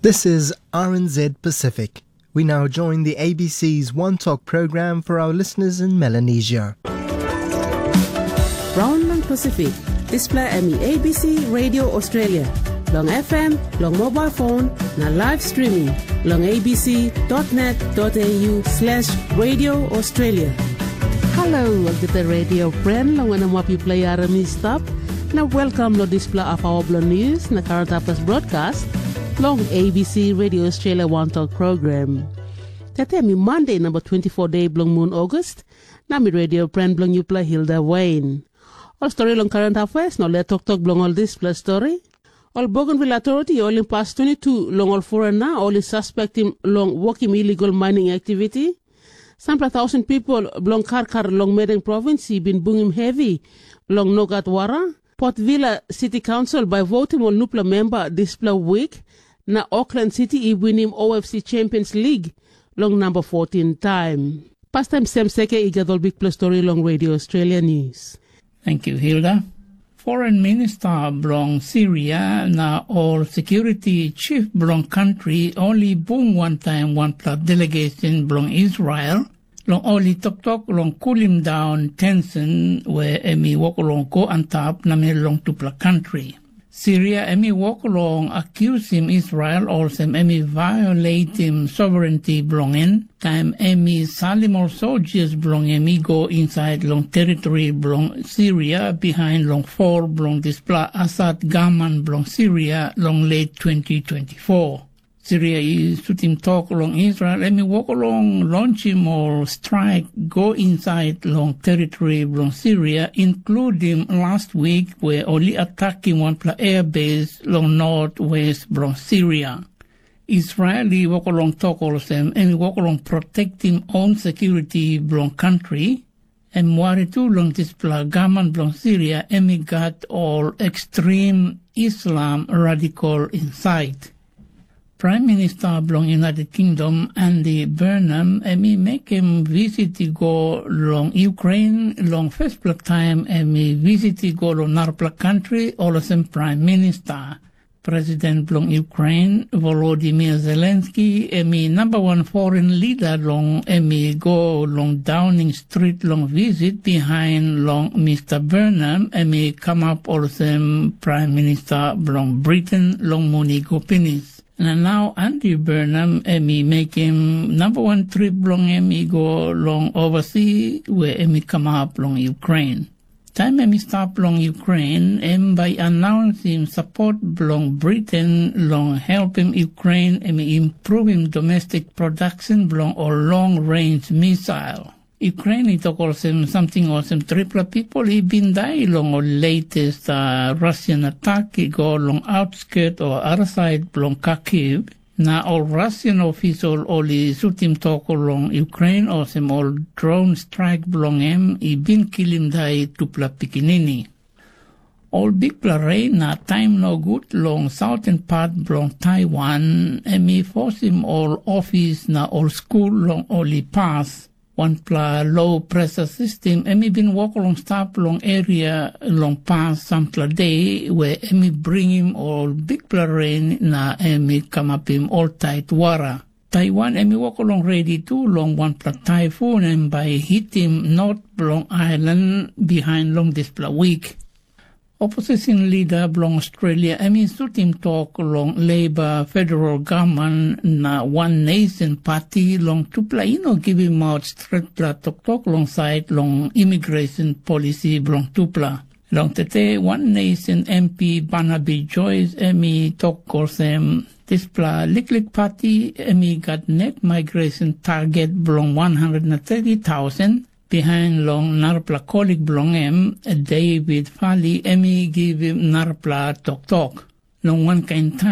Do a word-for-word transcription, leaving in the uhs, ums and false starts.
This is R N Z Pacific. We now join the A B C's One Talk program for our listeners in Melanesia. Raun long Pasifik, dispela em i A B C Radio Australia, long F M, long mobile phone, na live streaming long A B C dot net dot A U slash Radio Australia. Halo, olgeta radio friend, long wanem wap yupela i harim i stap, na welkam long dispela hapawa bilong news na current affairs broadcast long A B C Radio Australia One Talk program. Tete mi Monday number twenty-four day bilong mun August, na mi radio friend bilong yupela Hilda Wayne. Ol stori long current affairs na ol toktok bilong ol dispela stori. Ol Bougainville authority i holim pas twenty-two long ol foreigner ol i suspektim long wokim illegal mining activity. Sampela tausen pipel bilong Karkar long Madang provins i bin bungim hevi long nogat wara. Port Vila City Council bai votim ol nupela memba dispela wik, na Auckland City i winim O F C Champions League long namba fourteen taim. Pastaim Sem Seke i gat ol bikpela stori long Radio Australia News. Thank you, Hilda. Foreign Minister bilong Syria na ol security chief bilong country ol i bung wantaim wanpela delegation bilong Israel long ol i toktok long kulim daun tension we em i wok long go antap namel long tupela kantri. Siria em i wok long akiusim Israel olsem em i vaioletim sovereignty bilong en, taim em i salim ol soldiers bilong em i go insait long teritori bilong Siria bihain long fol bilong dispela Asad gaman bilong Siria long let twenty twenty-four. Siria i sutim tok long Israel em i wok long lonchim ol straik go insait long teritori bilong Siria, inkludim last wik we ol i atakim wanpela airbase long not west bilong Siria. Israel i wok long tok olsem em i wok long protektim oun sekuriti bilong kantri. Em wari tu long dispela gaman bilong Siria em i gat ol ekstrim Islam radikal insait. Pram Minista bilong United Kingdom Andy Burnham em i mekim visit i go long Ukrain long fespela taim em i visit i go long narapela kantri olsem Pram Minista. President bilong Ukrain Volodimir Zelenski em i namba wan forin lida long em i go long Dauning Strit long visit bihain long Mista Burnham em i kamap olsem Pram Minista bilong Britain long mun i go pinis. Na nau Andrew Burnham em i mekim namba wan trip bilong em i go long ovasi we em i kamap long Ukrain. Taim em i stap long Ukrain, em bai i anaunsim sapot bilong Britain long helpim Ukrain em i impruvim domestik produksyon bilong ol long rens misail. Ukrain i tok olsem samting olsem tripela pipel i bin dai long ol letes uh, Russian atak i go long outskirt o atasait bilong Kharkiv, na ol Russian ofisol ol i sutim tok long Ukrain olsem ol dron straik bilong em i bin kilim dai tupela pikinini. Ol bikpela rein na taim nogut long sauten pat bilong Taiwan, em i fosim ol ofis na ol skul long ol i pas. Wanpela lo presa sistem em i bin wok long stap long eria long pas sampela de, we em i bringim ol bikpela ren na em i kamapim ol tait wara. Taiwan em i wok long redi tu long wanpela taifun em bai i hitim not bilong ailan bihain long dispela wik. Opposition lida bilong Australia em i sutim tok long Leiba federal gavman na Wan Nesen Pati long tupela i no givim maut stretpela toktok long sait long imigresen polisi bilong tupela. Long tete Wan Nesen M P Barnaby Joyce em i tok olsem, dispela liklik pati em i gat net migresen target bilong wan handret na teti tausen, bihain long narapela kolik bilong em, David Fali, em i givim narapela toktok. Long wankain taim